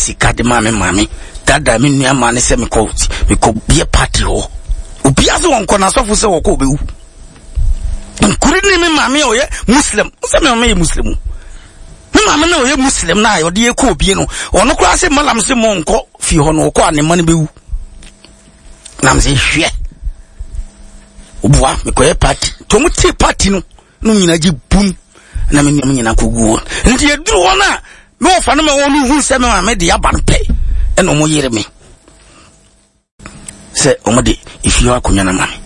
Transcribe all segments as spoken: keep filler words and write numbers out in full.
Sika de maa me maame dada me nua maa ne sɛ mekɔ mekɔ bie party hɔ. Obiara sɛ wɔnkɔ na asɔfo sɛ wɔkɔ obɛwu. Nkuri ne me maame a ɔyɛ Muslim, sɛ me maame yɛ Muslim. Me maame na ɔyɛ Muslim na ɔde yɛ kɔ obie no, ɔno koraa sɛ malam sɛ mo nkɔ fie hɔ no, ɔkɔ a ne mma no bɛwu. Nam sɛ hwɛ. Obua mekɔyɛ party. Nti ɔmo tee party no, no nyinaa gye bum na me nua nyinaa kɔgu hɔ. Nti yɛduru hɔ no a, me wɔfa no ma wɔn hu sɛ me maame de aba no pɛ, ɛna ɔmo yere me. Sɛ ɔmo de efie hɔ akonnwa no ama me.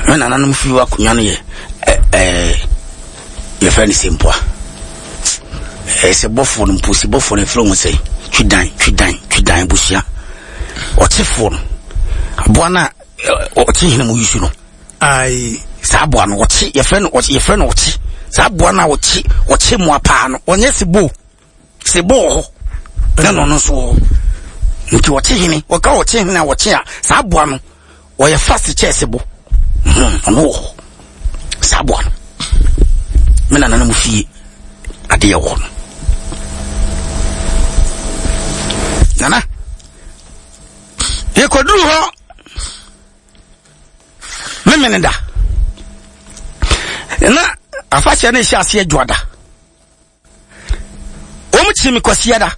Me nananom fie hɔ akonnwa no yɛ ɛɛ yɛfrɛ no sempoa. Ɛɛ sɛ bɔfoɔ no mpo, sɛ bɔfoɔ no yɛfrɛ wɔn sɛ twidan, twidan, twidan abusua. Ɔkyefoɔ no, aboa no a ɔkye hene mu yusu no. Ayi. Saa aboa no ɔkye, yɛfrɛ no ɔkye, yɛfrɛ no ɔkye. Saa aboa no a ɔkye, ɔkye mmoa paa no, ɔnyɛ sebo. Sebo wɔ hɔ. Na ɔno nso wɔ hɔ. Nti ɔkye hene, ɔka ɔkye hene a ɔkye a, saa aboa no, ɔyɛ fast kyɛɛ sebo. Hmm, ɔno wɔ hɔ. Saa aboa no. Me nana no mu fie adeɛ wɔ no. Nana, yɛkɔduru hɔ memene da. Na afahyɛ no ɛhyɛ aseɛ dwoada. Wɔn kyi me kɔsia da.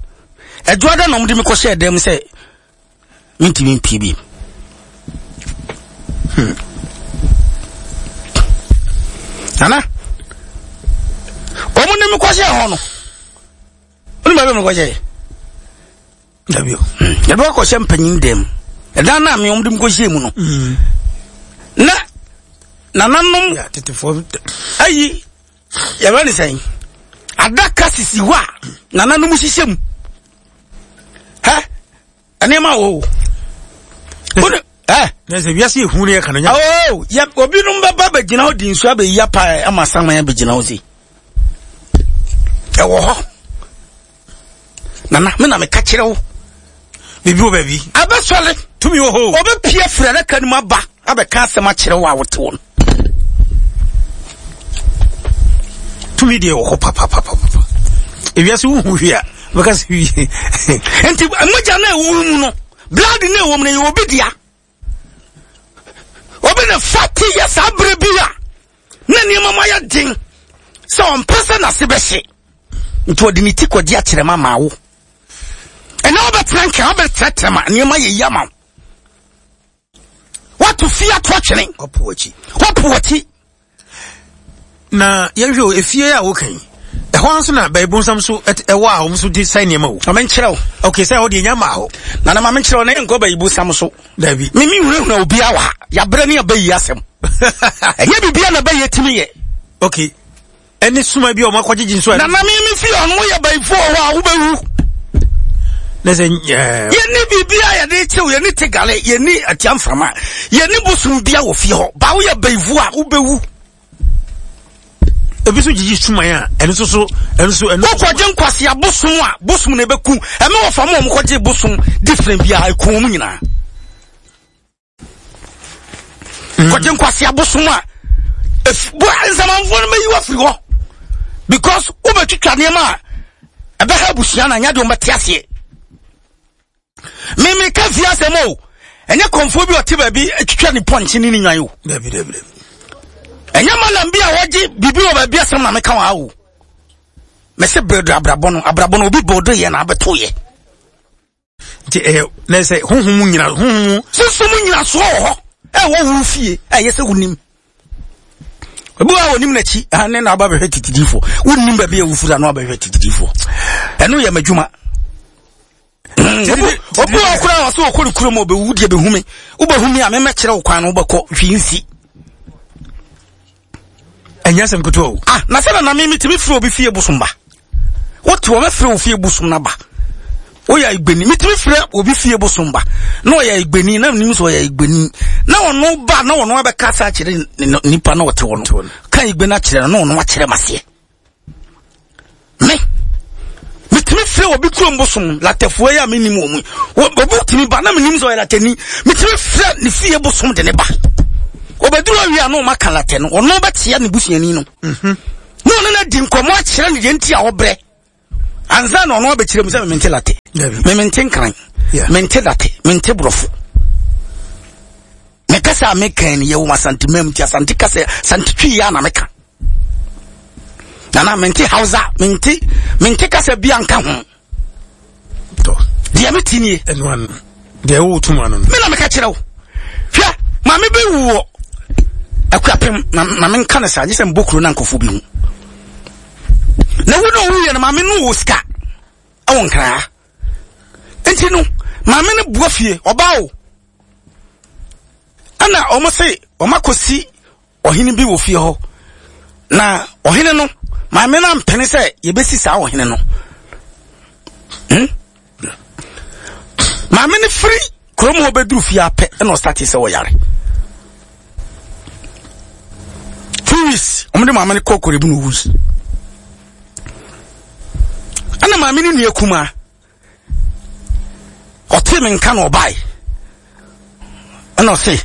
Ɛdwoada na wɔn de me kɔhyɛ dɛm sɛ mentumi mpie bi. Hmm. Nana, wɔn de me kɔhyɛ hɔ no, wɔn baabi me kɔhyɛ. Dabi o. Yɛde wakɔhyɛ mpanyin dɛm. Ɛdan na me wɔn de me kɔhyɛ mu no. Na nananom tetefoɔ ayi yɛbɛ ne sɛn adaka sisi hɔ a nananom hyehyɛ mu. Hɛ nneɛma wɔ o. Wone ɛ. Na sɛ wiase ehu ne yɛ ka no nya. Oh, yɛ obinom bɛba bɛgyina hɔ di nsuo abɛyi apa ama saman abɛgyina hɔ si. Ɛwɔ hɔ. Nana, me na meka kyerɛ wo. Biribi wɔ baabi. Abɛsɔre. Tumi wɔ hɔ. Ɔbɛpie firi adaka no mu aba abɛka asɛm akyerɛ wo a wote wo no. Tumi deɛ wɔ hɔ papapapapa. Ewiase wohu hwee a, bɛka sɛ wie. Nti mogya no a ɛwɔ mu no, blood no a ɛwɔ mu no, ɛyɛ obi dea. Obi na fa te yɛ saa berɛ bi a na nneɛma mu ayɛ den sɛ ɔmpɛ sɛ n'ase bɛhye. Nti ɔde ne ti kɔgye akyerɛ ma ma wo. Ɛnɛ wobɛtena nka wobɛtrɛtrɛ ma nneɛma yɛ yi ama wo. Wato fie ato atwene. Wapo w'akyi. Wapo w'akyi. Na yɛnhwɛ o, efie a woka yi, ɛhɔ nso na bɛɛbonsam so ɛwɔ a wɔn nso de sɛe nneɛma o. Ma menkyerɛ wo. Okay, sɛ ɛhɔ deɛ nya maa hɔ. Nana ma menkyerɛ wo na yɛnkɔ bɛɛbonsam so. Dabi. Mimi hunahuna obiara wɔ ha. Yɛabrɛ ne yɛbɛyi asɛm. Ɛnyɛ biribiara na bɛyɛ tumi yɛ. Okay. Ɛne suma bi a wɔn akɔgyegye nso. Nana mi mi fi ɔno yɛ bɛyifoɔ hɔ a wobɛwu. Na sɛ ɛɛ. Yɛni biribi a yɛde kyew, yɛni tegale, yɛni atia mframa, yɛni bosom bia wɔ fie hɔ. Ba woyɛ bɛyifoɔ a wobɛwu. Ebi nso gyegye suman a ɛno nso so ɛno nso ɛno. Wokɔgye nkwasi abosom a bosom na ebeku. Ɛmɛ wɔ fam a wɔn kɔgye bosom different bi a eku wɔn nyinaa. Kɔgye nkwasi abosom a bo nsamanfoɔ no bɛyi wafiri hɔ because wobɛtwitwa nneɛma a ɛbɛha abusua na nyɛ deɛ wɔbɛte aseɛ. Mimi ka fie asɛm o, ɛnyɛ kɔnfoɔ bi ɔte baabi twitwa ne pɔnkye ne ne nwan o. Dabi dabi dabi. Ɛnyɛ malam bi a wɔgye biribi wɔ baabi asɛm na meka wɔ ha o. Mɛsɛ bɛdo abrabɔ no, abrabɔ no obi bɔɔdo yɛ na abɛto yɛ. Nti ɛyɛ na sɛ honhom mu nyina honhom mu. Sunsum mu nyinasoɔ wɔ hɔ ɛwɔ wo fie ɛyɛ sɛ wonim. Obi wa wonim n'akyi ne na aba bɛhwɛ titidifoɔ. Wonim baabi a wofiri ano abɛhwɛ titidifoɔ. Ɛno yɛ m'adwuma. Obi wa koraa wɔ sɛ wɔkɔ ne kurom ɔbɛwu deɛ bɛhu me. Wobɛhu me a memɛkyerɛ wo kwan no wobɛkɔ hwee nsi. Ɛnyɛ asɛm ketewa o. Ah, na sɛ nana me metumi firi obi fie bosom ba. Wote wɔ mɛfrɛ wo fie bosom no ba. Woyɛ igbeni, metumi frɛ obi fie bosom ba. Na ɔyɛ igbeni, na menim sɛ ɔyɛ igbeni. Na ɔno ba, na ɔno abɛka sa akyerɛ nipa na ɔte hɔ no. Ka igbeni akyerɛ no, na ɔno akyerɛ maseɛ. Me, metumi frɛ obi kurom bosom, latafoɔ yi a menim wɔ mu. Obi tumi ba, na menim sɛ ɔyɛ latani. Metumi frɛ ne fie bosom de ne ba. Obɛduru awie a na ɔma ka latɛ no, ɔno bɛkyea ne busuani no. Na ɔno no adi nkɔmmɔ akyerɛ ne deɛ nti a ɔbrɛ. Ansa na ɔno abɛkyerɛ mu sɛ mente latɛ. Me mente nkran, mente date, mente borɔfo. Me kasa a meka ni yɛwɔ Asante mam nti Asante kasa, Asante twi ya na meka. Nana mente Hausa, mente mente kasa bi anka ho. To. Deɛ mete nie. Ɛno ano. Deɛ ɛwɔ tum ano no. Me na meka kyerɛ wo. Hwɛ, maame bi wɔ Akuapem, ma ma menka no saa, gye sɛ mbɔ kuro na nkɔfo bi ho. Na wo na owuiɛ no, maame no wɔ sika ɛwɔ Nkraa. Nti no, maame no bua fie, ɔbaa o. Ɛna ɔmo se, ɔmo akɔsi ɔhene bi wɔ fie hɔ. Na ɔhene no, maame no ampene sɛ yɛbɛsi saa ɔhene no. Hmm? Maame no firi kurom hɔ bɛduru fie apɛ ɛna ɔstate sɛ ɔyare. Two weeks, ɔmo de maame no kɔɔ Korebu na owui. Ɛna maame no nua kumaa, ɔtee me nka na ɔbae. Ɛna ɔse,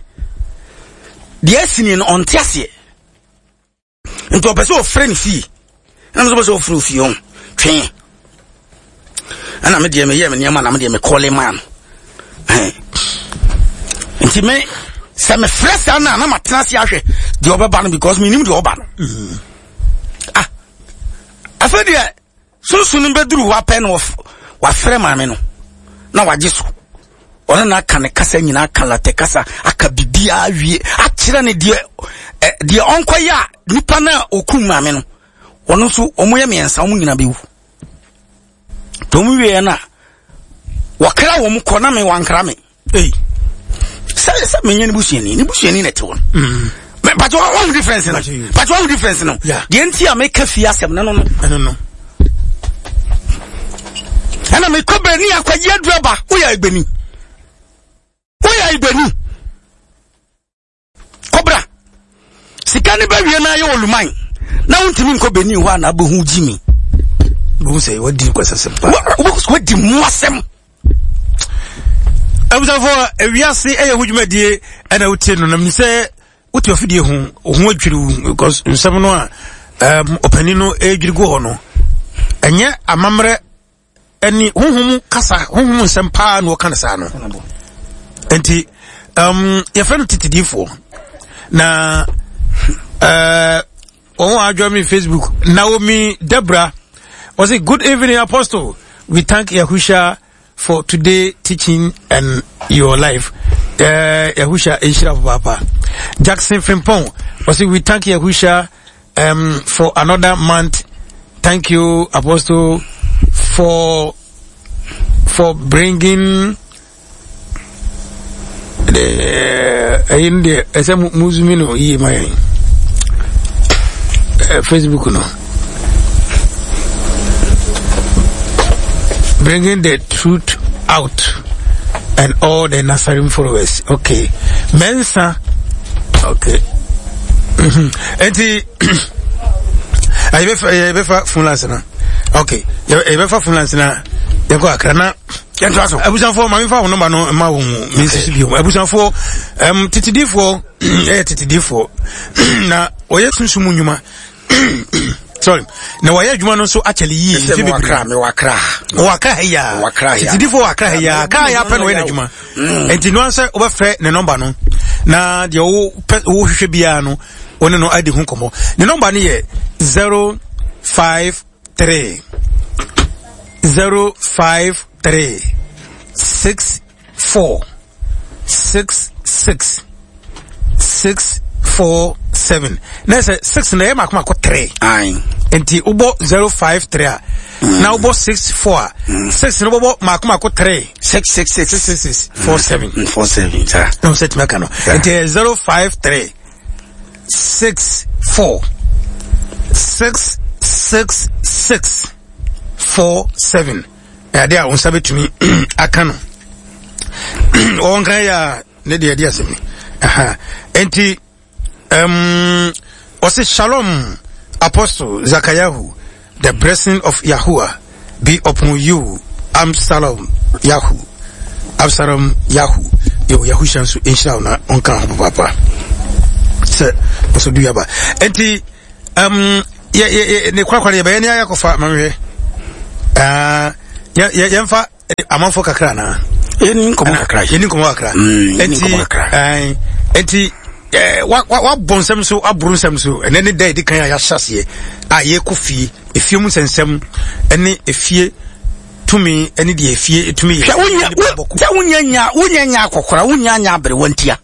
deɛ asi ni no ɔnte aseɛ. Nti ɔpɛ sɛ ɔfrɛ ne fie. Ɛna nso ɔpɛ sɛ ɔfrɛ ofie hɔ. Twee. Ɛna me deɛ meyɛ me nneɛma na me deɛ mekɔle maa no. Nti me, sɛ mefrɛ saa no a na matena ase ahwɛ deɛ ɔbɛba no because menim deɛ ɔba no. Ah, afei deɛ sunsun no bɛduru hɔ apɛ na wafrɛ maame no na wagye so. Ɔno na aka ne kasa nyinaa, aka latɛ kasa, aka biribiara wie, akyerɛ ne deɛ deɛ ɔnkɔyɛ a nipa no a ɔkum maame no, ɔno nso ɔmo yɛ mmiɛnsa, ɔmo nyinaa bɛwu. Nti ɔmo wieɛ no a, wɔkra wɔn kɔ na me wankra me. Ei. Sɛ sɛ menyɛ ne busuani, ne busuani na ɛte hɔ no. But what difference no? But what difference no? Deɛ nti a meka fie asɛm no no no. Ɛno no. Ɛna mekɔ bani akɔgye aduru aba, woyɛ agbani. Woyɛ agbani. Kɔbra. Sika ne bɛwie na ayɛ oluman. Na wontumi nkɔ bani hɔ a na abɛhu gyimi. Wohu sɛ wadi nkwasasɛm paa. Wadi mu asɛm. Abusuafoɔ, ewiase ɛyɛ ho dwumadie ɛna wotie no na menim sɛ wote afidie ho, ho adwiri wo because nsɛm no a um, ɔpanin no ɛdwiri gu hɔ no ɛnyɛ amammerɛ ɛne honhom kasa, honhom nsɛm paa na wɔka no saa no. Nti um, yɛfrɛ no tetedifoɔ na uh, wɔn a adwa me Facebook, Naomi Debra was it, good evening Apostle, we thank Yahusha for today teaching and your life. Uh, Yahusha Ishra Papa. Jackson Frimpong was it, we thank Yahusha um, for another month. Thank you Apostle for for bringing the in the S M Muzumino E my Facebook no. Bringing the truth out and all the Nazarene followers. Okay. Mensa. Okay. Enti ayi befa phone lines na. Okay. Ye befa phone lines na. Ye ko akra na. Yɛntoa so. Abusuafoɔ, ma memfa wo nɔmba no ma wo mu. Me nsisi bio. Abusuafoɔ, um, titidifoɔ, ɛyɛ titidifoɔ. Na ɔyɛ sunsum nnwuma. Sorry. Na wɔyɛ adwuma no nso akyɛle yie. Ɛsɛ Mfe mewɔ bebree. Akra, mewɔ Akra. Wɔ Akra ha yi a. Wɔ Akra ha yi a. Titidifoɔ wɔ Akra ha yi a. Akra ha yi apɛ na ɔyɛ n'adwuma. Enti no ansɛ wobɛfrɛ ne nɔmba no. Na deɛ wo pɛ, wo hwehwɛ biara no, wo ne no adi ho nkɔmmɔ. Ne nɔmba no yɛ zero five three zero five three six four six six six four seven. Na sɛ six na ɛyɛ mako mako three. Aye. Nti wobɔ zero five three a, na wobɔ six four a, six na wobɔ mako mako three. Six six six. Six six six four seven. Mm, four seven, sir. Na wo sɛ tumi aka no. Yeah. Nti ɛyɛ zero five three six four six six six four seven. Ɛyɛ a wo nsa bɛtumi aka no. Wɔn kan yɛ a ne deɛ ɛde asɛm ni. Aha. Nti, um, ɔse Shalom Apostle Zakayahu, the blessing of Yahuwah be upon you. Absalom Yahu. Absalom Yahu. Yo, Yahusha nso nhyira wo na ɔnka ho papaapa. Sɛ ɔsɔ du yaba. Nti, um, yɛ, yɛ, yɛ, ne korakora yɛbɛyɛ ne ayɛ kɔfa ma mehwɛ. Ah, yɛ, yɛ, yɛmfa amanfo kakra na yɛni nkɔmmɔ kakra yɛni nkɔmmɔ kakra enti enti wabɔ nsɛm so aboro nsɛm so ɛnɛ ne da yɛdi kan a yɛahyɛ aseɛ a yɛkɔ fie efie mu nsɛnsɛm ɛne efie tumi ɛne deɛ efie tumi yɛ. Hwɛ wonya sɛ wonya nya wonya nya akɔkora wonya nya aberewa ntia.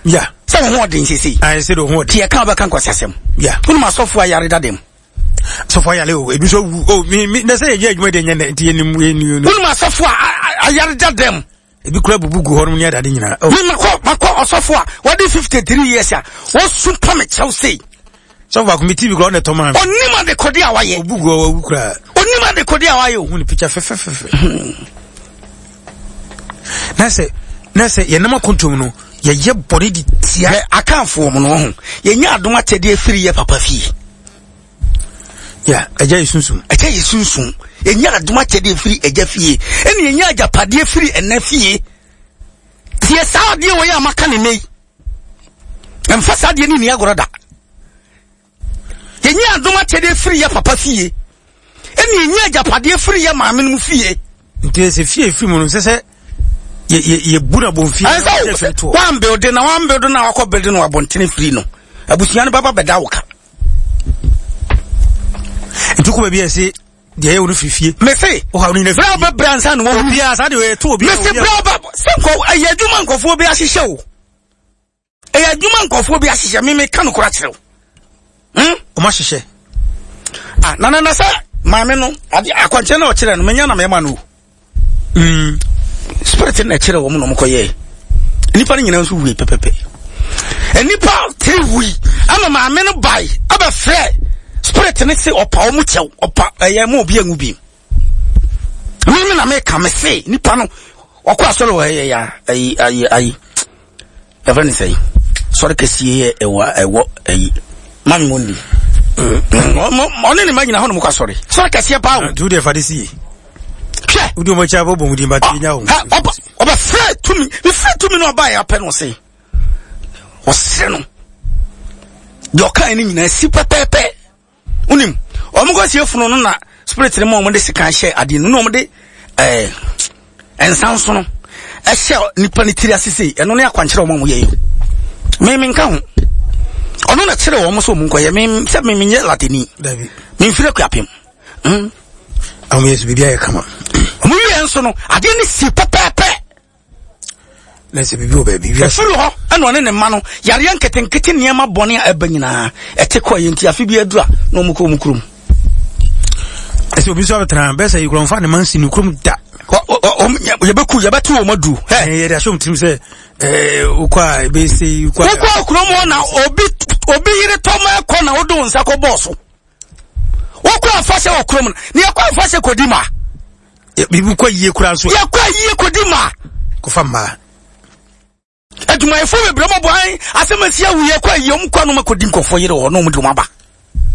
Ya. Sɛ wo ho ɔden sese. Ayi sɛ de ho ɔden. Tiɛ kan bɛka nkɔsasɛm. Ya. Wonum asɔfo ayare da dem. Asɔfo ayare o ebi nso wu o mi mi na sɛ yɛyɛ adwuma de nyɛ nɛ nti yɛnim yɛnim. Wonum asɔfo a ayare da dem. Ebi kura bubu gu hɔ nom ne adade nyinaa. Mi makɔ makɔ ɔsɔfo a wɔde fifty three years a wɔsu pa me kyɛw sei. Sɔfo baako mi T V kura ɔna ɛtɔ maa mi. Onim adekode a wayɛ. Obu gu hɔ wawu kura. Onim adekode a wayɛ o. Ohun ne picture fɛfɛfɛfɛ. Na sɛ na sɛ yɛnam akontom no yɛyɛ bɔne de tia. Hwɛ akanfoɔ mu no ho yɛnya adom akyɛdeɛ firi yɛ papa fie. Ya ɛgya yɛ sunsum. Ɛgya yɛ sunsum. Yɛnya adom akyɛdeɛ firi ɛgya fie. Ɛna yɛnya agyapadeɛ firi ɛna fie. Tie saa adeɛ wɔ yɛ a maka ne nne yi. Ɛmfa saa adeɛ ne ni agorɔ da. Yɛnya adom akyɛdeɛ firi yɛ papa fie. Ɛna yɛnya agyapadeɛ firi yɛ maame no mu fie. Nti sɛ fie firi mu no sɛ sɛ yɛbu na bɔn fie. Ɛsɛ wɔn building na wɔn building na wakɔ building na wabɔntene firi no. Abusua no bɛba bɛda wo ka. Nti kɔ baabi a ɛsɛ deɛ ɛyɛ wo no firi fie. Mese bere a wobɛbrɛ ansa na wɔhu. Obiara saa deɛ ɛto obiara. Mese bere a wobɛ sɛ nkɔ ɛyɛ adwuma nkɔfoɔ bi ahyehyɛ o. Ɛyɛ adwuma nkɔfoɔ bi ahyehyɛ me meka no kora kyerɛ wo. Hmm? Ɔmo ahyehyɛ. Ah, na na na sɛ maame no ade akwankyerɛ na ɔkyerɛ no menya na mɛma no o. Mm. Spirit na ɛkyerɛ wɔn na wɔn kɔyɛɛ. Nnipa no nyinaa nso wui pɛpɛpɛ. Nnipa tiri wui ama maame no bae abɛfrɛ spirit ne se ɔpa wɔn kyɛw ɔpa ɛyɛ mo obi anwu bi. Mímí na meka me se nipa no ɔkɔ asɔre wɔ ɛyɛ ya ayi ayi ayi ɛfɛ ne sɛ sɔre kɛseɛ yɛ ɛwɔ ɛwɔ ayi maame mo ndi. Ɔne ne ma nyina hɔ na mo kɔ asɔre sɔre kɛseɛ paa o. Tu deɛ fa de si. Hwɛ. Wodi wɔn akyi abɔ bɔn din ba ti nya wɔn. Ɔba ɔba fɛ tumi fɛ tumi na ɔba yɛ apɛ no ɔse ɔsere no deɛ ɔka ne nyinaa si pɛpɛɛpɛ wonim ɔmo kɔ sie funu no na spirit no ma ɔmo de sika hyɛ adeɛ no na ɔmo de ɛɛ nsa nso no ɛhyɛ nipa ne tiri ase sei ɛno ne akwankyerɛ ɔmo a ɔmo yɛ yi me me nka ho ɔno na kyerɛ wɔn sɛ ɔmo nkɔyɛ me sɛ me menyɛ latini memfiri akuapem. Mm. Ɔmo yɛ so biribi ayɛ kama. Ɔmo wie nso no adeɛ no si pɛpɛɛpɛ. Na sɛ biribi wɔ baabi. Ɛfiri hɔ ɛna ɔne ne mma no yareɛ nketenkete nneɛma bɔne a ɛba nyinaa ɛte kɔ yɛ nti afe bi aduru a na ɔmo kɔ ɔmo kurom. Ɛsɛ obi nso abɛtena bɛsɛ yi kurɔmfa ne ma nsi ne kurom da. Yɛbɛku yɛbɛto wɔn aduru. Yɛde ahyɛ wɔn tirim sɛ wokɔ a ɛbɛsɛ wokɔ a kurom hɔ na obi obi yere tɔm ɛkɔ na wode wo nsa kɔ bɔɔ so. Wokɔ afahyɛ wɔ kurom no na yɛkɔ afahyɛ kɔdi ma. Biribi kɔ yie kura nso. Yɛkɔ yie kɔdi ma. Kɔfa mmaa. Adwumayɛfoɔ bebree mɔbɔ an asɛm asi awu yɛkɔ yie ɔmo kɔ anoma kɔdi nkɔfoɔ yere wɔ na ɔmo de ɔmo aba.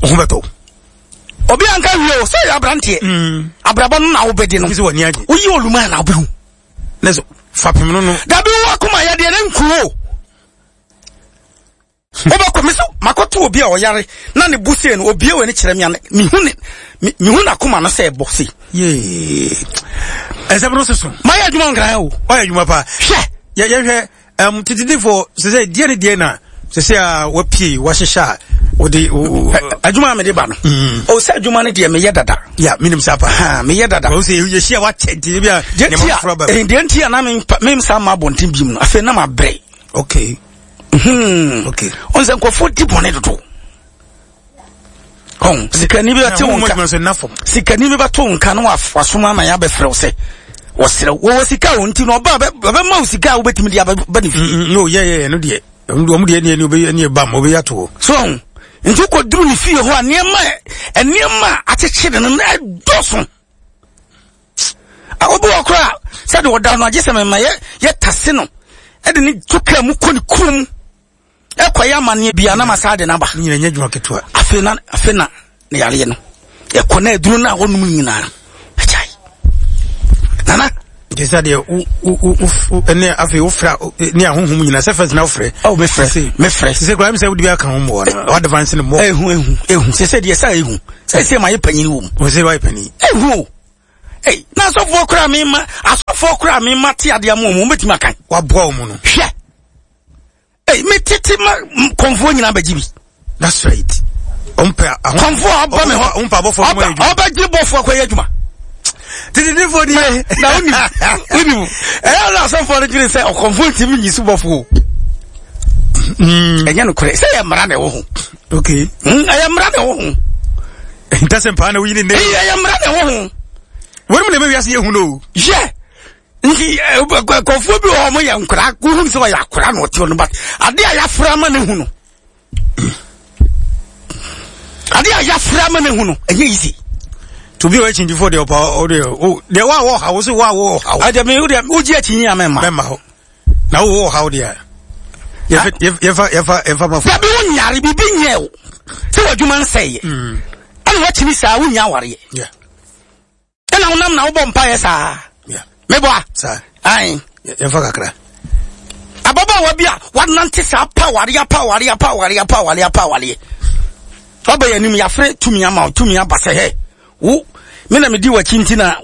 Ɔho bɛtɔ. Obi anka wie o sɛ yɛ aberanteɛ. Abrabɔ no na wobɛdi no. Woyi oluma na wobɛhu. Ne so fapem no no. Dabi wo akoma yɛ deɛ ne nkuo. Wobɛkɔ me sɛ makɔto obi a ɔyare na ne bo sei no obie wɔ ne kyerɛ me a mehu ne mehu n'akoma no sɛ ɛbɔ sei. Yee. Ɛsɛm no soso. Mayɛ adwuma nkran o. Ɔyɛ adwuma paa. Hwɛ. Yɛ yɛhwɛ um, titidifo sɛ sɛ deɛ ne deɛ na sɛ sɛ a wapie wahyehyɛ a wode adwuma a mede ba no. O sɛ adwuma no deɛ meyɛ dada. Ya menim saa paa. Meyɛ dada. Wɔn sɛ yɛhyia wakyɛ nti bi a nneɛma foforɔ ba. Deɛ nti a na memsa ma abɔnten bi mu no afei na mabrɛ. Okay. Hmm. Okay. On sɛ nkurɔfoɔ di bɔne dodo. Ɔn sikani bi bɛte wo nka. Sikani bi bɛto wo nka na wasoma ama yɛ abɛfrɛ wo sɛ wɔsrɛ wo. Wɔwɔ sika o nti na ɔba bɛma wo sika a wobɛtumi de abɛba ne fie. No yɛ yɛ no deɛ. Ɔmo deɛ ne ne ne bam ɔbɛyɛ ato hɔ. So ɔn nti wokɔduru ne fie hɔ a nneɛma nneɛma a akyekyere no na ɛdɔso. Obi wɔ koraa sɛde ɔda no agye sɛ mema yɛ yɛtase no ɛde ne to kaa mu kɔ ne kurom ɛkɔyɛ amanneɛ bia na ma saa de no aba. Nyina nyɛ adwuma ketewa. Afei na afei na ne yareɛ no ɛkɔ na aduro no a wɔnom nyinaa agyae. Nana nti sɛ deɛ wo wo wo ɛne afei wofrɛ ne ahonhom nyinaa sɛ fɛs na wofrɛ. Oh mefrɛ mefrɛ. Sɛ koraa sɛ wode bi aka ho mmoa no wo advance no mmɔ. Ehu ehu ehu sɛ sɛ deɛ sɛ ehu sɛ sɛ ma yɛ panyin wɔ mu. Wɔ sɛ wayɛ panyin. Ehu o. Ei, na asɔfoɔ koraa mema asɔfoɔ koraa mema te adeɛ mu ɔmo bɛtumi akan. Waboa ɔmo no. Hwɛ. Ei, metete ma kɔnfoɔ nyinaa bɛgye bi. That's right. Ɔmpɛ aho. Kɔnfoɔ ɔba me hɔ. Ɔmpɛ abɔfoɔ ɔmo yɛ adwuma. Ɔbɛgye bɔfoɔ akɔyɛ adwuma. Tititifoɔ nie. Na wonim wonim ɛyɛ na asɔfoɔ no dwene sɛ ɔkɔnfoɔ ntumi nyi so bɔfoɔ. Ɛnyɛ nokorɛ sɛ ɛyɛ mmara na ɛwɔ ho. Okay. Ɛyɛ mmara na ɛwɔ ho. Ntasɛ mpaa na woyi ne nne. Ɛyɛ mmara na ɛwɔ ho. Wɔn mu na ɛmɛ wiase yɛ hu no. Yɛ nti kɔnfoɔ bi wɔ hɔ ɔmo yɛ nkora wohun sɛ ɔyɛ akora na ɔte hɔ no but adeɛ a yɛafra ama ne hu no adeɛ a yɛafra ama ne hu no ɛnyɛ easy. To bi a ɔyɛ kyindifoɔ deɛ ɔpa ɔdeɛ o deɛ wa wɔ ha wo so wa wɔ ha. Ɛdeɛ mi wo deɛ wogye akyi a mɛma. Mɛma hɔ na wo wɔ ha wo deɛ yɛfa yɛfa yɛfa ma fo. Dabi wo nyare bibi nyɛ o sɛ w'adwuma nsɛeɛ ɛna wakyini saa wonya awareɛ ɛna wonam na wobɔ mpaeɛ saa meboa ae yɛfa kakra. Ababaawa bi a wanante saa pa awareɛ pa awareɛ pa awareɛ pa awareɛ pa awareɛ waba yɛ anim yɛafrɛ tumi ama wo tumi aba sɛ hɛ wo me na medi w'akyi nti na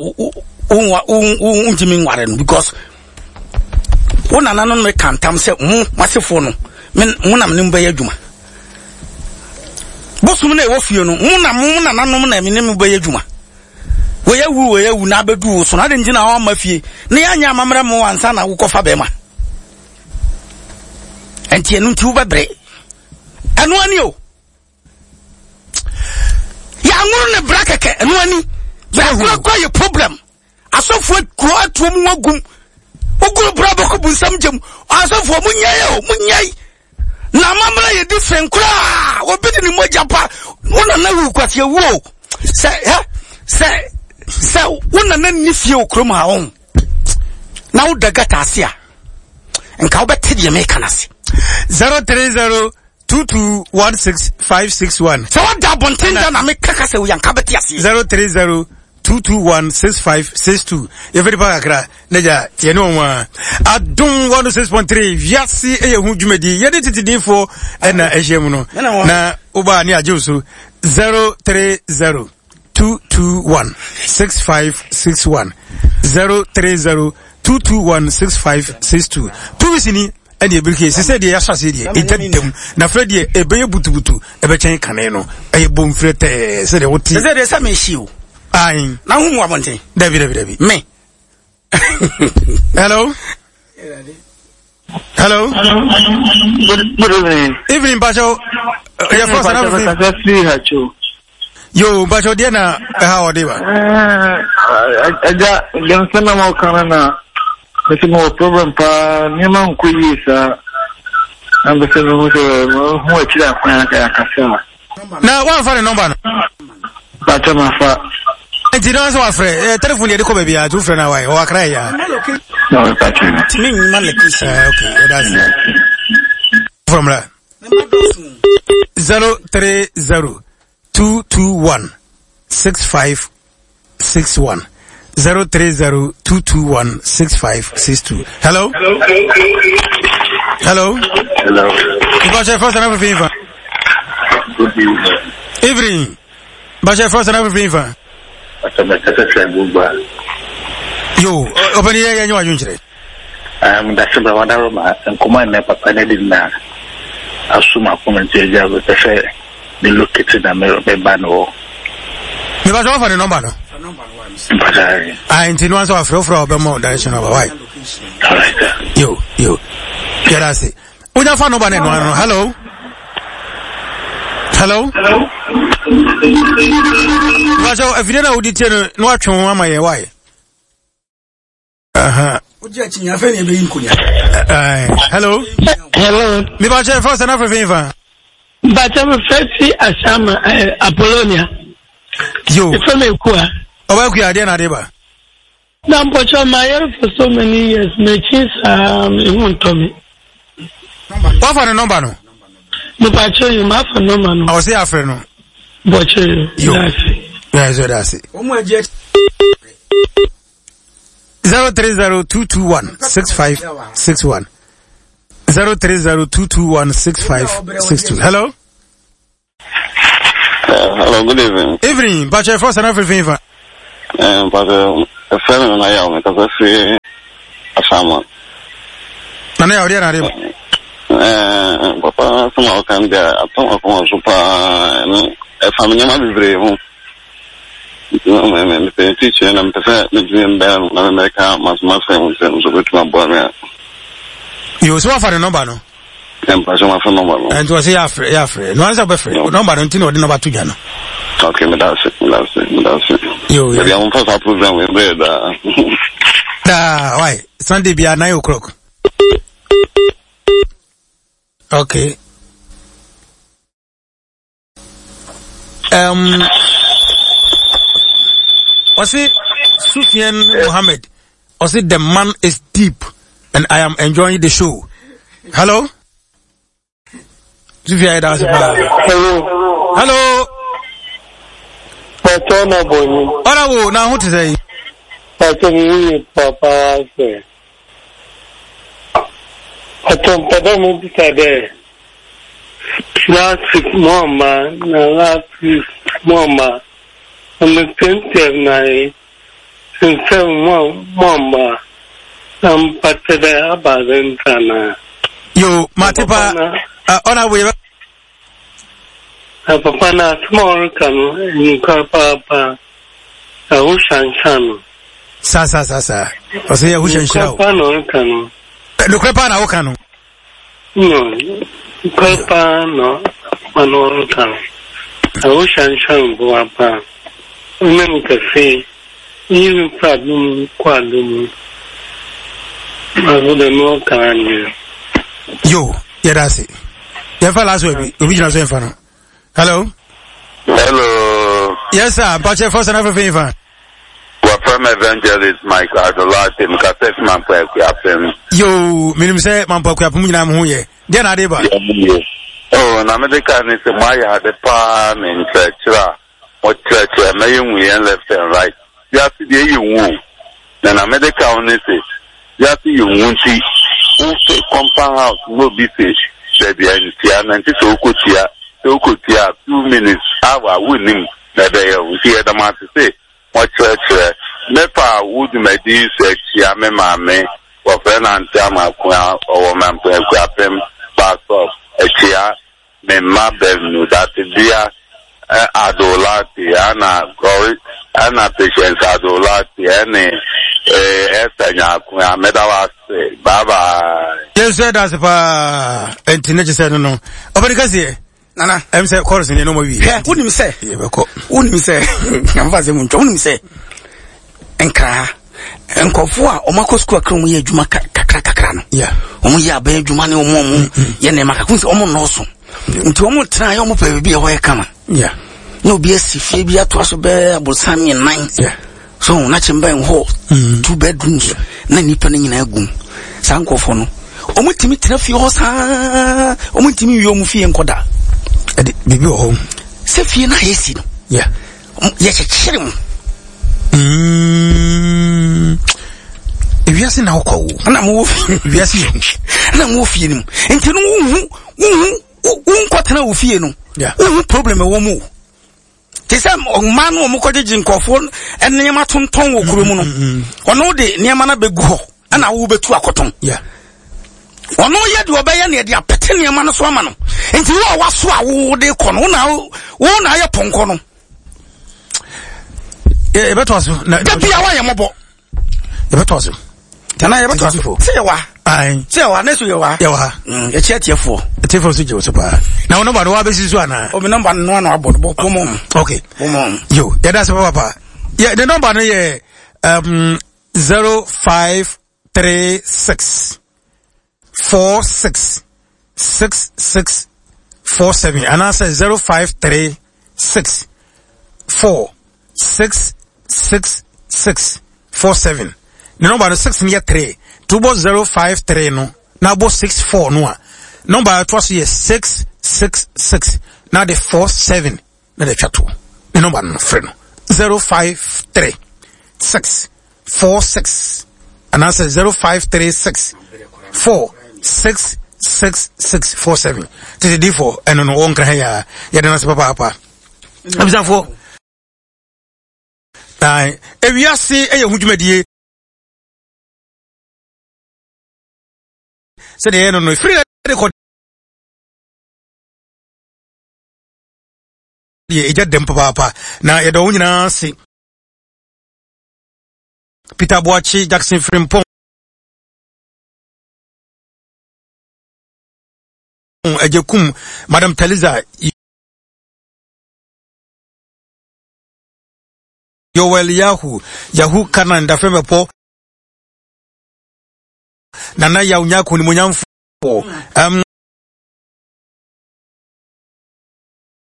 wontumi nware no because wo nana no meka ntam sɛ mo masefoɔ no mo na mene mo bɛyɛ adwuma bosom na ɛwɔ fie no mo na mo nananom na mene mo bɛyɛ adwuma wɔyɛ wu wɔyɛ wu na abɛdu wo so na ade nti na wɔama fie na yɛanyɛ amammerɛ mo ansa na wokɔfa bɛrima ɛnti ɛno nti wobɛbrɛ ɛno ani o yɛanworo ne bra kɛkɛ ɛno ani bra yɛ problem asɔfoɔ kuro atuo mu wagum wogoro bra bɛkɔ bu nsɛm gyam asɔfoɔ munyɛe o munyɛe na amammerɛ yɛ different koraa obi de ne mogya pa wo nana wu kwasi awu o sɛ hɛ sɛ sɛ wo nana nni fie wɔ kurom ha wo na woda gata ase a nka wobɛte deɛ meka no ase zero three zero two two one six five six one. Sɛ woda abɔnten da na meka ka sɛ woyɛ nka bɛte aseɛ zero three zero two two one six five six two. Yɛfɛ nipa kakra ne gya yɛne wɔn a Adom one six point three wiase ɛyɛ hu dwumadi yɛde tete ɛna ɛhyɛ mu no na woba ne agye so zero three zero two two one six five six one zero three zero two two one six five six two. Two weeks ni ɛne ebirike sisɛ deɛ yɛahyɛ aseɛ deɛ ɛgya dam na afei deɛ ɛbɛyɛ butubutu ɛbɛkyɛn kane no ɛyɛ bomfrɛ tɛɛ sɛdeɛ wote sɛ deɛ sɛ mehyi o ayi na hu mu abɔnten dabi dabi dabi me hello hello good, good evening. Evening Bacho. Yɛ fɔ sana fi yo Bacho deɛ na ɛha ɔde ba ɛgya deɛ na ma ɔka no na mese mewɔ problem paa nneɛma nkɔ yie saa na mpɛ sɛ mehu sɛ mehu akyiri akwan akasa a na woamfa ne nɔmba no Bacho mafa nti na sɛ wafrɛ telefon deɛ de kɔ baabi a nti wofrɛ no a wae ɔwɔ akra yɛ a na ɔrepa kyerɛ no tumi nyima location ok ɛda ase from la zero three zero two two one six five six one zero three zero two two one six five six two. Hello. Hello. Hello. Bacho first and everything. Good evening. Evening. Bacho first and everything. Yo, open here yanyu adwunkyere. Um that's ba wada roma nkoma na papa na di na asuma comment eja be sɛ me locate na me me ba no. Me ba so fa ne number no. Mpatari. Ah, nti no anso afrɛ frɛ obɛmɔ direction aba why? All right. Yo, yo. Yɛda ase. Wonya fa number ne no ano. Hello. Hello. Hello. Bacho afide na wodi tie no na watwe ho ama yɛ why? Aha. Wogye akyi nya afɛ ne ɛbɛyi nkonya. Hello. Hello. Me bacho first na afrɛ fa. Bacho me fɛsi Ashama eh, Apollonia. Yo. Ife me kuwa. Oba kuwa ade na ade ba. Na mpocho ma yere for so many years me chi sa me hu ntomi. Wa fa ne number no? Me bacho yo ma fa number no. O se afrɛ no. Bacho yo. Yo. Yeah, so that's it. Omo agye zero three zero two two one six five six one zero three zero two two one six five six two. Hello. Uh, hello, good evening. Evening, Bacho first and everything. Uh, Eh, mpatsɛ ɛfɛ mi nana yaw mi kasa fi Asama. Nana yaw deɛ na ade ba. Eh, papa sɛm a ɔka no deɛ atɔm akoma so paa ɛno ɛfa me nneɛma bebree ho. Mepɛ teacher na mepɛ sɛ metumi mbɛn no na memɛka masomasɛm sɛ nso bɛtumi aboa me a. Yo, so wafa ne nɔmba no? Mpatsɛ mafa nɔmba no. Nti ɔsɛ yɛafrɛ yɛafrɛ no ansa wobɛfrɛ nɔmba no nti na ɔde nɔmba to dwa no. Okay, meda ase, meda ase, meda ase. Yo, yo. Baabi a momfa saa program wei brɛ daa. Daa, why? Sunday bia nine o'clock. Okay. Um, ɔse Sufyan Mohammed, ɔse the man is deep and I am enjoying the show. Hello? Sufyan, that's Hello. Hello. Pastor Naboni. Honorable, now what to say? Pastor me, Papa, say. Pastor, Papa, me say last week, Mama, na last week, Mama, I'm a twenty nine, and seven, Mama, I'm Pastor Abazentana. Yo, Matipa, Honorable. Papa na tomorrow can in Papa, a Hushan. Sa sa sa sa. I say Hushan Shao. No, can. No crepa na okano. No, crepa no, no can. A Hushan Shao Guapa. Memka say, you problem quadum. I would no can. Yo, yeah, that's it. Yeah, last week, original so. Hello. Hello. Yes, sir. Pache first and everything. We're from Evangelist Michael Adolate. Mkasef Mampa. Yo, minim say Mampa Kuapum na muye. Then adeba. Oh, na me ka ni se maya de pa ni nchira. Mo church me yu left and right. Ya si de yu wu. Na na me ka oni se. Ya si yu wu nti. Wo se compound house no be fish. There be ntia na nti so okotia. So okotia two minutes hour wunim na be ya wo si e da ma se. Mo church me pa wo dwumadi so achia me maame. Wo fe na ntia ma kwa owo ma mpa kwa pem pastor achia me ma benu that dia Adolati ana glory ana patience Adolati ene eh esanya kwa medawa se bye bye. Yes sir, that's pa enti ne se no no obedi kasi nana em se chorus ne no ma wi he wonim se ye be ko wonim se amfa se mun wonim se enkra enkofo a omakọ school akra mu ye adwuma kakra kakra no yeah omo ye aban adwuma ne omo omo ye ne makakun se omo no so nti omo tena ye omo pa bi e ho ye kama yeah no bi asifie bi ato aso be abosan me nine yeah so na chimba en ho two bedrooms na nipa ne nyina agum sankofo no omo timi tena fie ho sa omo timi wi omo fie nkoda e bibi ho se fie na yesi no yeah ye chechere mu mm ewiase na okwo na mo ewiase na mo fie ni nti no hu hu hu nkotena wo fie no hu problem e wo mu te se ma no mo kogege nkofo ene ma tonton wo kuro mu no ono de niam na begu ho ana wo betu akoton yeah ono ye de obeye na de apete niam no so ama no nti wo waso a wo de kɔ no na wo na ye ponko no e beto so na da bia wa ye mobo e beto so tana ye beto so se ye wa ai se ye wa na so ye wa ye wa mm e che tiefo tiefo so je so pa na wono ba no wa besi so ana o mi number no na abo bo mo okay mo yo yeah that's papa yeah the number no ye um zero five three six four six six six four seven and I say zero five three six four six six six four seven. The number six near three. Two bo zero five three no. Now bo six four no. Number twice here six six six. Now the four seven. Now the chat two. The number no friend. Zero five three six four six. And I say zero five three six four six six six four seven. To the D four and on one ya ya don't papa papa. I'm for. Ewiase ɛyɛ ho dwumadie sɛdeɛ ɛyɛ no no ɛfiri de kɔ deɛ ɛgya dɛm papaapa na yɛdɔ wo nyinaa ase. Peter Boakye, Jackson Frimpong, Agyekum, Madam Taliza, Yoel Yahu, Yahu Kanan, Dafemɛpɔ, Nana Yaw Nyako Nimonyamfo, um,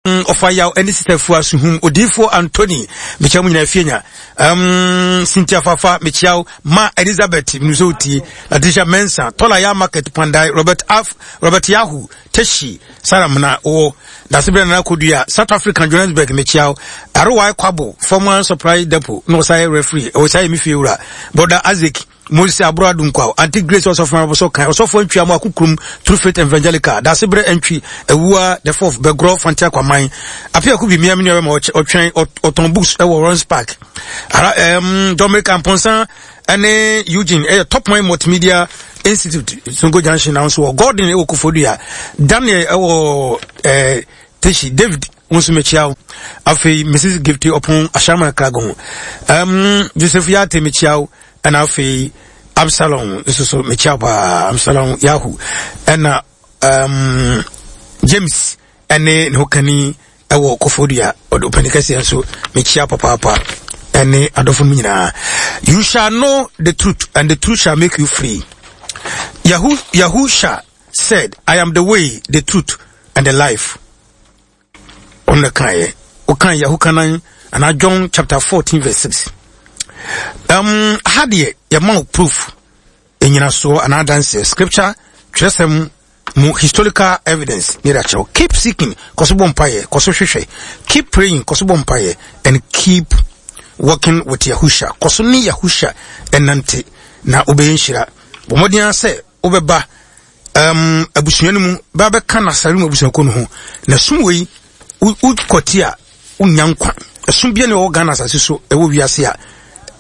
ɔfa yaw ɛne sista fua suhum odiifoɔ Anthony mekyia mu nyinaa fie nya um, Cynthia Fafa mekyia wo ma Elizabeth minusɛ otie Letitia Mensa Tɔla ya Market Pandai Robert Af Robert Yahu Teshi Sarah Mna wɔ Dasebrɛ Nana Kodua South African Johannesburg mekyia wo Arowai Kwabo former supply depot na ɔsan yɛ referee ɔsan yɛ me fie wura Brother Isaac Moses Abro Adunkwaw, Auntie Grace Osofo Maboso Kan, Osofo Antwi Amo Akukrum, True Faith Evangelical, Dasebrɛ Antwi, Awua, The Fourth, Bɛgorɔ, Fanti Akwaman, Afia Kubi, Mia Mini Ɔbɛma, Ɔtwɛn, Ɔtɔn Books, ɛwɔ Lawrence Park, Ara, um, Dominic Amponsa, ɛne Eugene, ɛyɛ Top Mind Multimedia Institute, Songo Junction, na nso wɔ Gordon, ɛwɔ Kofodua, Daniel, ɛwɔ, eh, Teshi, David, nso mekyia wo. Afei, Missus Gifty Opon, Ashama Kragon, um, Joseph Yate, mekyia wo. Ɛna afei Absalom nso so mekyia paa Absalom Yahu ɛna um, James ɛne ne hokani ɛwɔ Kofodua ɔde ɔpani kɛseɛ nso mekyia papaapa ɛne adɔfo no nyinaa. You shall know the truth and the truth shall make you free. Yahu, Yahusha said, I am the way, the truth and the life. Ɔno kaeɛ wokan Yahu kanan anaa John chapter fourteen verse six. Um, ha deɛ yɛma wo proof enyinasoɔ anaa adanseɛ scripture twerɛsɛm mu historical evidence ne yɛde akyerɛw. Keep seeking, kɔ so bɔ mpaeɛ, kɔ so hwehwɛ. Keep praying, kɔ so bɔ mpaeɛ, and keep working with Yahusha. Kɔ so ne Yahusha ɛnante na wobɛyɛ nhyira. Bɔ mmɔden ara sɛ wobɛba um, abusua no mu ba bɛka Nasare mu abusuakuo no ho na sum wei wokɔte a wonya nkwa. Ɛsom bia ne ɛwɔ Ghana asase so ɛwɔ wiase a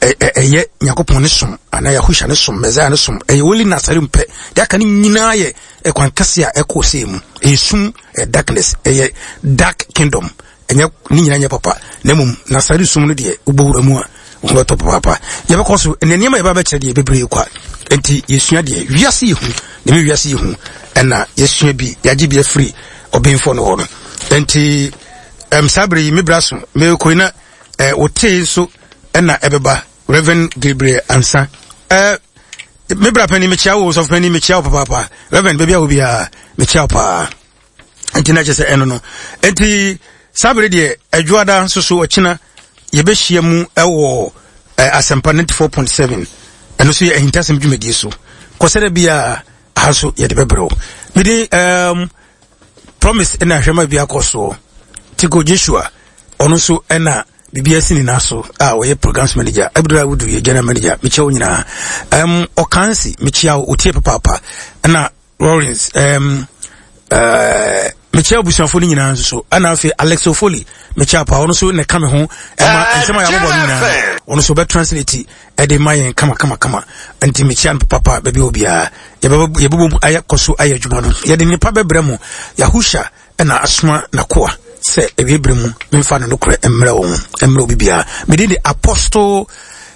ɛyɛ Nyankopɔn ne som anaa Yahusha ne som, Messiah ne som, ɛyɛ only Nasare mpɛ. Deɛ aka ne nyinaa yɛ ɛkwan kɛse a ɛkɔ sɛ mu. Ɛyɛ sum, ɛyɛ darkness, ɛyɛ dark kingdom. Ɛnyɛ ne nyinaa nyɛ papa. Na mmom Nasare som no deɛ wobɔ wura mu a wo bɛtɔ papaapa. Yɛbɛkɔ so ɛnɛ nneɛma yɛba bɛkyerɛ deɛ bebree kwa. Enti yɛsua deɛ wiase yɛ hu, na me wiase yɛ hu ɛna yɛsua bi, yɛagye bi afiri ɔbenfoɔ no hɔ no. Enti um, saa bere yi me bra so mekɔi na eh, wotee nso ɛna ɛbɛba Reverend Gabriel Ansa. Eh, me bra pani mekyia wo, sɔfo pani mekyia wo papaapa. Reverend baabi a wo biara mekyia wo paa. Enti na kyerɛ sɛ ɛno no. Enti saa bere deɛ adwoada nso so ɔkyena yɛbɛhyia mu ɛwɔ eh, Asɛmpa ninety-four point seven. Ɛno nso yɛ ahintasɛm dwumadie so. Kɔsɛdɛ bi a aha nso yɛde bɛbrɛ wo. Mede um, promise ɛna ahwɛma bi akɔ soɔ. Tiko Joshua ɔno nso ɛna biribi asi ne nan so a ɔyɛ programs manager. Abdul Awudu yɛ general manager. Mekyia wo nyinaa. Um, Ɔkansi mekyia wo, otie papaapa. Ɛna Lawrence um, uh, mekyia abusuafo no nyinaa nso so. Ɛna afei Alex Ofoli mekyia pa, ɔno nso na ɛka me ho ɛma nsɛm a yɛabobɔ no nyinaa ɔno nso ɔbɛ translate ɛde ma yɛn kama kama kama. Nti mekyia no papa baabi a obiara. Yɛbɛbɔ mu ayɛ kɔ so ayɛ adwuma no. Yɛde nnipa bɛbrɛ mu. Yahusha ɛna asoma nakoa sɛ ewie bere mu memfa no nokorɛ mmerɛ wɔn, mmerɛ obi biara. Mede de Apostle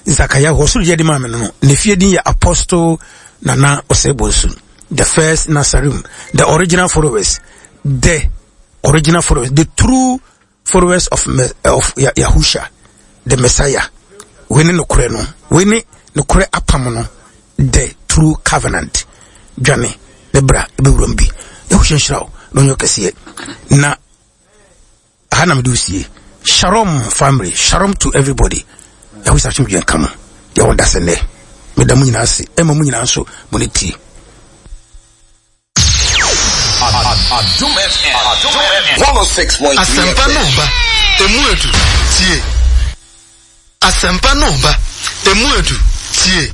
Zakaria hɔ soro deɛ de maa me no no. Ne fie din yɛ Apostle Nana Osei Bonsu, the first Nasarim, the original followers, the original followers, the true followers of of Yahusha, the Messiah. We ne nokorɛ no, we ne nokorɛ apam no, the true covenant. Dwane ne bra ebewuram bi. Yahusha nhyira wo na ɔnyɛ kɛseɛ. Na aha na mede wo sie. Shalom family, shalom to everybody. Yahusha asomdwoe nka mo. Yɛwɔ dasɛ nnɛ. Meda mo nyinaa ase. Ɛma mo nyinaa nso mo ne tie. Adum F M one oh six point three Asempa F M. no ba emu edu tie. Asempa no ba emu edu tie.